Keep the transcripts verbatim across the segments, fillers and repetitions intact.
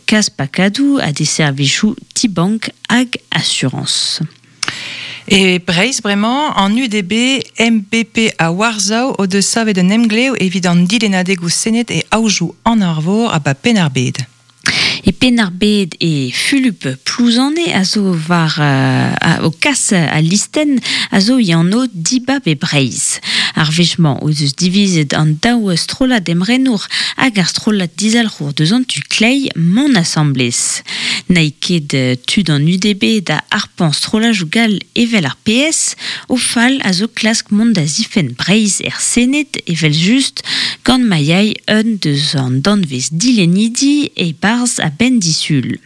Kas pakadou a de servichou T-Bank hag Assurance. E Breizh bremañ an U D B, M B P a Warzao o deus savet un emglev evit an dilennadegoù Sened e aojoù an Arvor a ba Penn-ar-Bed. E Penn-ar-Bed e Fulup Plouzane a zo war uh, a, o kas a listen a zo yanno dibab e Breizh. Ar wech-mañ o deus divizet an daou strollad emrenour hag ar strollad dizalc'hour deus an tu klei mont asamblez. N'aï ket tud an U D B da arpan strollajoù gall evel ar P S, o fal a zo klask mont da zifen Breizh er Sened evel just gant ma yai un deus an danvez dilenidi e barz a ben disul.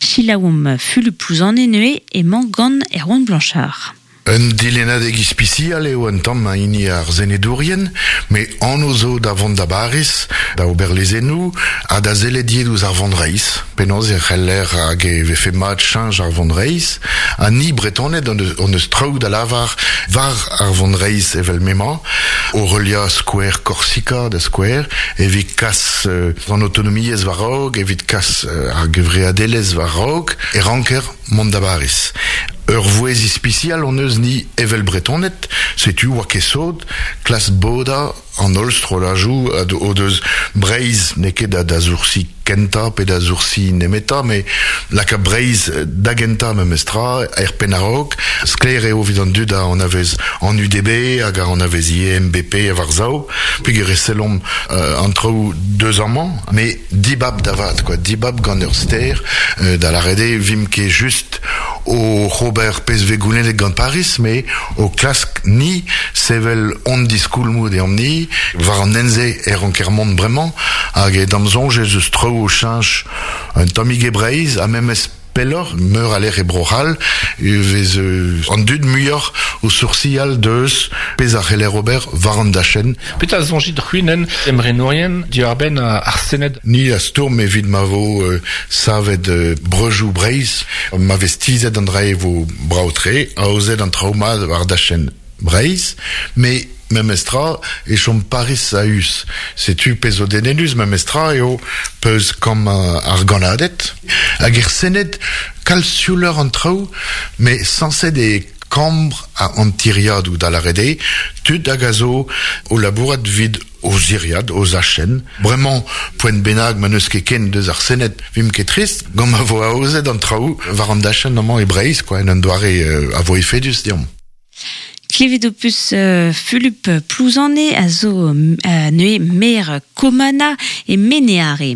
Chilaoum Fulup Plouzane neue emañ gant Erwan Blanchard. Un dilennadeg ispisial eo un tamm a hini ar senedourien, me an zo da vont da Baris, da ober lezennoù, ha da zellet ouzh ar vonreizh. Penaos e c'heller hag e vefe mat chañj ar vonreizh, ha ni Bretoned on eus, on eus traoù da lavar war ar vonreizh evel memañ, o relia skouer Korsika da skouer, evit kas euh, an autonomiezh war raok, evit kas euh, ar gevreadelezh war raok, e ranker mont da Baris. Ur vouez ispisial on eus ni evel Bretoned, setu oa ket sot, klas boda an holl strollajoù o deus Breizh n'eo ket da, da zoursi kenta pe da zoursi nemeta, me laka Breizh da genta memestra, er penn-a-raok, sklaer eo evit an dud a an avez an U D B hag a an avez I M B P a war zao, peogwir e sellomp euh, an traoù deus amañ, me dibab da vat, quoi, dibab gant ur ster, euh, da lâret eo vimp ket just o Robert P S V goulennet gant Paris, me o klask ni sevel on diskoulmoù deomp ni, war an enze e ranker mont bremañ, hag e dam soñj ez eus traoù o cheñch un tammig e Breizh, ha memes pelloc'h, meur a lec'h e Bro-C'hall, e vez euh, an dud muioc'h o soursial deus pezh a c'heller ober war an dachenn. Petra soñjit c'hwinen emrenourien diwar-benn ar Sened? Ni a stourm evit ma vo euh, savet euh, breujoù Breizh, ma vez tizet an dra e vo brav-tre, aozet an traoù mat war dachenn Breizh, me memestra e chom Paris a us. Setu pezh o denenus memestra eo peus kam ar ganadet. Hag er Sened kalz siouleur an traoù, me sañset e kambr a an tiriadoù da lâret eo, tud hag a zo o labourat vid o ziriad, o zachenn. Bremañ, poent bennak ma n'eus ket ken deus ar Sened vimp ket trist, gant ma vo aozet an traoù war an dachenn amañ e Breizh, quoi, en un doare euh, a vo efedus deomp. Klevet o peus euh, Fulup Plouzane a zo euh, neue maire Komana e Meneare.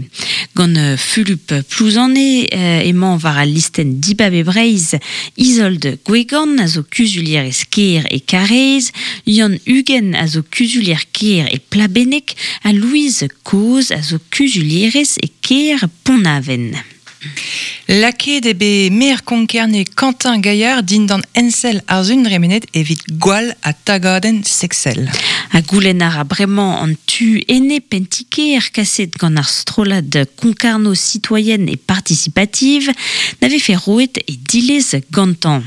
Gant euh, Fulup Plouzane euh, emañ war al listenn dibab e Breizh Isolde Gwegan a zo kuzulier e Sker e Karez, Yann Uguen a zo kuzulier Ker e Plabennec ha Louise Koz a zo kuzulierez e Ker Pont-Aven. Lakaet eo bet maer Konkerne Quentin Gaillard dindan ensell ar sun dremenet evit gwall ha tagadenn sexel. Ha goulenn ar a bremañ an tu ene pentiker kaset gant ar strollad Concarneau citoyenne et participative n'avait fait roet e dilez gantañ.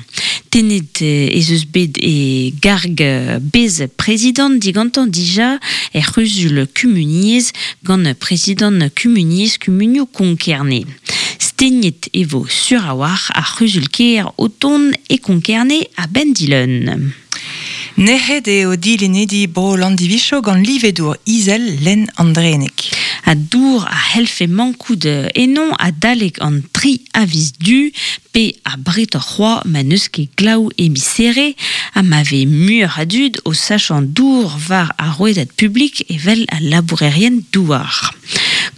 Tenet ez eus bet e garg bez prezident digantañ dija er c'huzul kumuniezh gant prezident kumuniezh kumunioù Konkerne. Stegnet e vo sur a war ar c'huzul kêr o tont e Konkerne a ben dileun. Nec'het eo dilennedi bro Landivicho gant livedour izel len Andrenek. A dour a helfe mankout enon a dalek an tri aviz du, pe a bret ar c'hoa ma n'eus ket glaou emisere, ha ma ve mur a dud o sachant dour war ar rouedad publik evel a labourerien douar.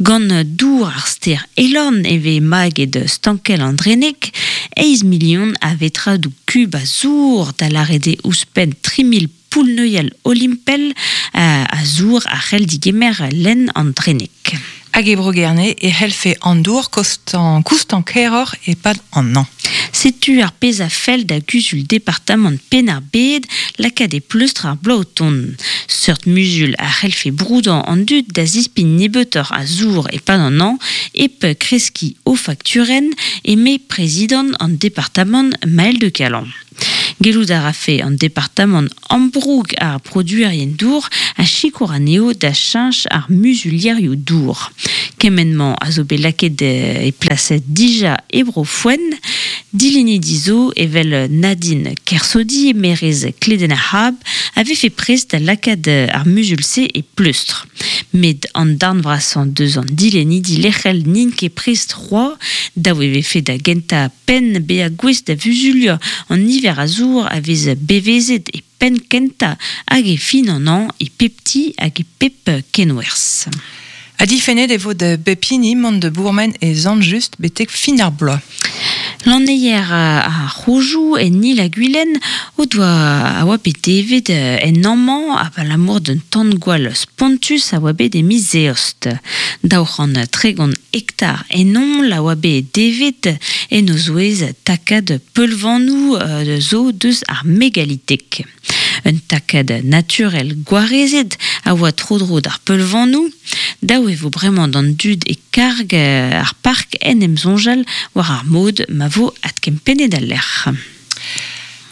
Gant dour ar ster Elorn e ve maget stankel Andrenek, eizh million a vetradoù kub a zour da lâret eo ouzhpenn tri mil poull-neuial olimpel a, a zour a c'hell digemer len Andrenek. Hag e Bro-Gerne e c'hellfe an dour kostan, koustan keroc'h e-pad an an. Setu ar pezh a fell da guzul departamant Penn-ar-Bed lakaat e pleustr ar bloaz o tont. Seurt muzul a c'hellfe broudañ an dud da zispign nebeutoc'h a zour e-pad an an hep kreskiñ o fakturenn eme prezidant an departamant Maël de Calan. Gellout a rafe an departamant ambroug ar produerien dour a sikour anezho da cheñch ar muzulierioù dour. Kement-mañ a zo bet lakaet e plas dija e bro Foen, dilenidi zo evel Nadine Kersaudy, merez Kledenn-ar-C'hab, a vefe prest da lakaat ar muzul-se e pleustr. Met an darn vrasañ deus an dilenidi lec'hel n'int ket prest c'hoazh, dav e vefe da gentañ penn bezañ gouest da vuzuliañ an niver a zour a vez bevezet e penn kentañ hag e fin an hañv e pep ti hag e pep kenwerzh. Ha difennet e vo da bep hini mont da bourmen e Sant-Just betek fin ar bloaz. Lanneier ar c'hrojoù en Il-ha-Gwilen o doa a oa bet devet en amañ abalamour d'un tan-gwall spontus a oa bet e miz Eost. Daou c'hant tregont hektar ennon a oa bet devet en o zouez takad peulvanoù zo deus ar megalitek. Un takad naturel gwarezet a oa tro-dro d'ar peulvanoù. Daou e vo bremañ d'an dud e karg ar park en em soñjal war ar mod ma vo adkempennet al lec'h.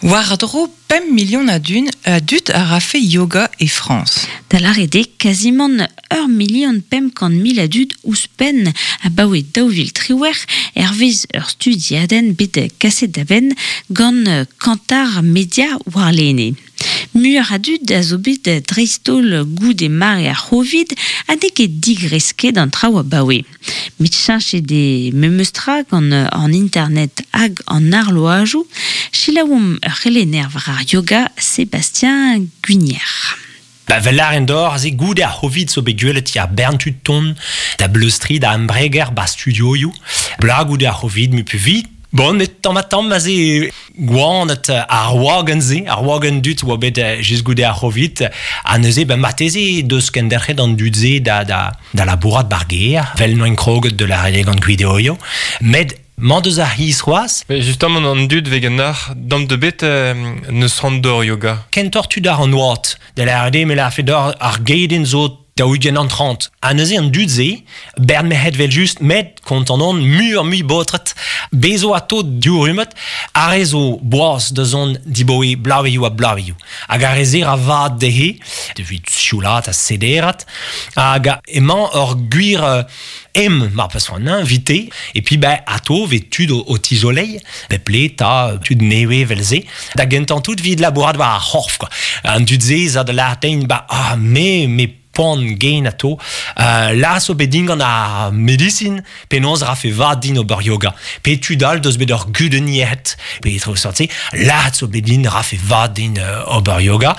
War-dro pemp million a dud, a dud a rafe yoga e Frañs. Da lâret eo kazimant ur milion pemp kant mil a dud ouzhpenn abaoe daou vil triwec'h hervez ur studiadenn bet kaset da benn gant Kantar Media warlene. Muioc'h a dud a zo bet dreist-holl goude mare ar C'hovid ha n'eo ket digresket an traoù abaoe. Met cheñchet eo memes tra gant an internet hag an arloajoù. Selaouomp ur c'helenner war ar yoga, Sébastien Guinier. Ba vel lâren d'or, aze goude ar C'hovid zo bet gwelet ya bern tud tont da bleustri da embreger ba studioioù. Bla goude ar C'hovid mu pu vit. Bon, met tamm ha tamm aze gwanet ar wagenn-se, ar wagenn dud oa bet just goude ar C'hovid, ha neuze ben marteze deus kenderc'het an dud-se da, da, da labourat bar gêr, vel noen kroget de la gant gwideoio. Met mañ deus ar c'hiz c'hoazh. Mais justement an dud vez ganeoc'h, dam de bet euh, neus c'hoant d'or yoga. Kentoc'h tud ar an oad, da lâret eo me lârfe d'or ar gedenn zo daou-ugent an trant. Ha neuze an dud-se, bern merc'hed vel just, met kontant on muioc'h mui baotred, bezo ato diourumet, ar re zo boaz da zont diboe blaveioù ha blaveioù. Hag ar re se ra vat dezhe, evit sioulat ha sederat, hag emañ ur gwir em, mar peus c'hoant, hein, vite, et puis ben, ato vez tud o, o tizoleiñ, bep le ta tud newe vel se, da gentañ tout vid labourat war ar c'horf, quoi. An dud-se za da lâret ba, ah, me, me poan gen ato, euh, la zo bet din gant ar medisin, penaos rafe vat din ober yoga. Pe tud all deus bet ur gudenn yec'hed, pe tro sorti, la zo bet din rafe vat din euh, ober yoga.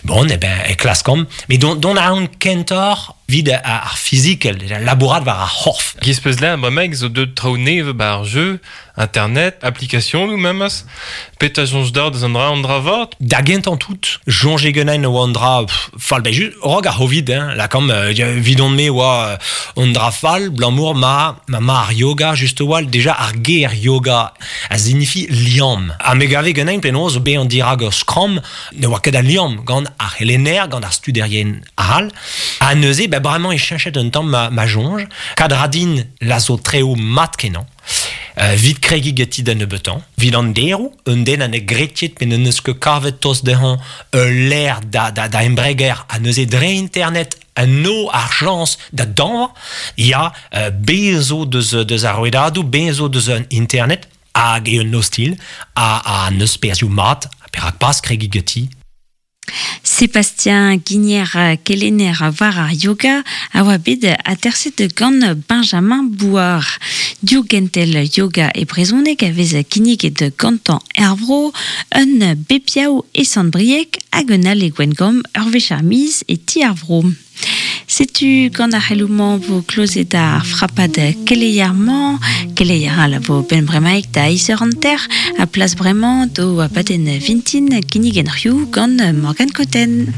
Bon, eh ben, e klaskomp. Mais don, don a an kentoc'h vid ar fizikel, labourat war ar c'horf. Giz peus lâret bremaik zo deut traoù nevez ba ar jeu, internet, application ou memes, pet a soñj d'ar deus an dra an dra vat? Da gentañ tout, soñje ganin oa an dra pff, fall, ben just, rog ar C'hovid, hein, la kam, euh, vidon-me oa an dra fall, blamour ma, ma ma ar yoga, just oa, deja ar ger yoga a signifie liamm. Ha me gave ganin penaos be an dirag ur skramm, ne oa ket a liamm gant ar c'helenner, gant ar studerien all. Ha neuze, ben bremañ e cheñchet un tamm ma, ma soñj, kadradin la zo treo mat kenañ. Euh, vit kregiñ ganti da nebeutañ. Vit an deroù, un den an e gretiet pe n'eus ket kavet tost dezhañ ul lec'h da, da, da embreger ha neuze dre internet a no ar chañs da dañvañ, ya, euh, bez zo deus, deus ar rouedadoù, bez zo deus an internet, hag eo un ostilh, ha, ha neus perzhioù mat, perak pas kregiñ ganti. Sébastien Guinier kelenner war ar yoga a oa bet aterset gant Benjamin Bouard. Div gentel yoga e brezhoneg a vez kinniget gantañ er vro, un bep yaou e Sant-Brieg hag un all e Gwengamp ur wech ar miz e ti ar vro. Setu gant ar c'heloù-mañ vo klozet ar frapad keleier-mañ, keleier all a vo ben bremaik da eizh eur hanter, a plas bremañ do abadenn vintin kinnigen c'hioù gant Morgane Cotten.